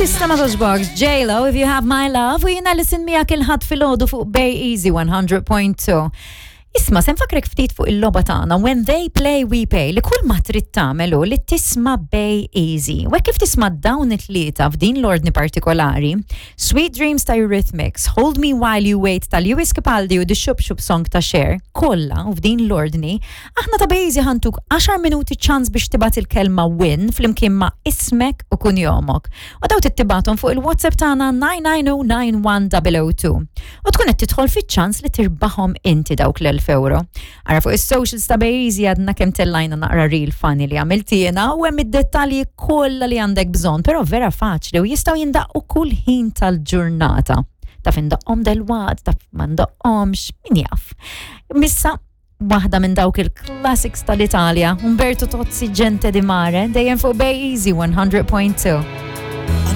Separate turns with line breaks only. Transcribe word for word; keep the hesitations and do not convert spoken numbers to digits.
Tista ma toġbokx, J-Lo, If You Have My Love, u jiena Alison miegħek il-Ħadd filgħodu fuq Bay Easy one hundred point two. Isma', se nfakkrek ftit fuq il-logħba tagħna When They Play We Pay, li kull ma trid tagħmel hu li tisma' Bay Easy. U hekk kif tisma' dawn it-tlieta f'din l-ordni partikolari, Sweet Dreams ta' Eurythmics, Hold Me While You Wait ta' Lewis Capaldi u The Shup Shup Song ta' Cher, kollha u f'din l-ordni, aħna ta' Bay Easy ħa ntuk għaxar minuti ċans biex tibgħat il-kelma "win" flimkien ma' ismek u kunjomok. U dawn tibgħathom fuq il-WhatsApp tagħna nine nine zero nine one zero zero two. U tkun qed tidħol fiċ-ċans li tirbaħhom inti dawk l-elf euro. Ara fuq is-socials ta' Bay Easy għadna kemm tellajna naqra reel funny li għamilt jiena u hemm id-dettalji kollha li għandek bżonn, però vera faċli u jistgħu jindaqqu kull ħin tal-ġurnata. Taf indaqqhom dalwaqt, taf ma ndaqqhomx, min jaf. Issa waħda minn dawk il-classics tal-Italja, Umberto Tozzi, Gente di Mare, dejjem fuq Bay Easy one hundred point two.